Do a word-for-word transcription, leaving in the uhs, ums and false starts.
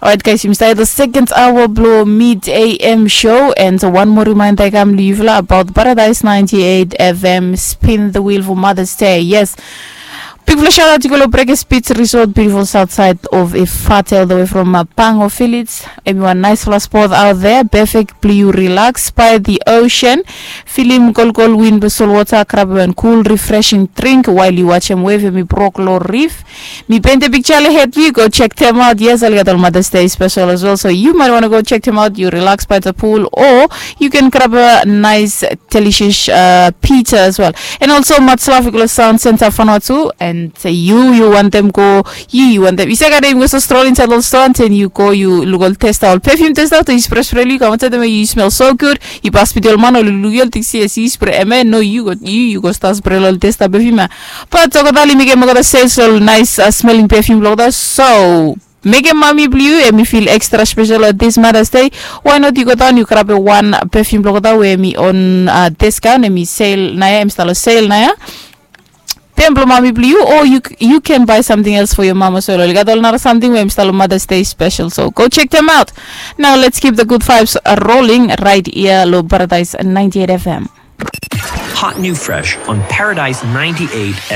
Alright guys, yumi start the second hour blo Mid A M show, and one more reminder i kam long yufala about Paradise ninety-eight F M, spin the wheel for Mother's Day. Yes. Bigfala shout out i go long Brekes Beach Resort, beautiful south side of Efate, all the way from uh, Pango Village. Everyone, nice fala spot out there, perfect blo yu relax by the ocean. Filim kolkol win blo solwota, grab wan cool refreshing drink while yu watch em wave em i brok long reef. Mi paint a picture ahead you go check them out. Yes, I'll get all Mother's Day special as well. So you might want to go check them out. You relax by the pool, or you can grab a nice delicious uh, pizza as well. And also, much love to Sound Center Vanuatu. And uh, you, you want them go, you, you want them. You say, "Yu stroll inside all store, and then you go, you look all test out perfume test out, you spray spray, you come outside them, you smell so good." You pass with your man, or you look, you think, "Yes, you spray, man." No, you go, you, you go start spray all test out perfume. But tokotali mekem olgeta sales ol nice uh, smelling perfume blong olgeta. So mekem mami blong yu em i feel extra special on this Mother's Day. Why not yu go down yu grab wan perfume blong olgeta we em i on uh, discount, em i sale naia, em i start long sale naia. Tem blong mami blong yu, or you, you can buy something else for your mama as well. Ol gat ol nara something we em i start long Mother's Day special. So go check them out. Now let's keep the good vibes uh, rolling right here lo Paradise ninety-eight F M. Hot new fresh on Paradise ninety-eight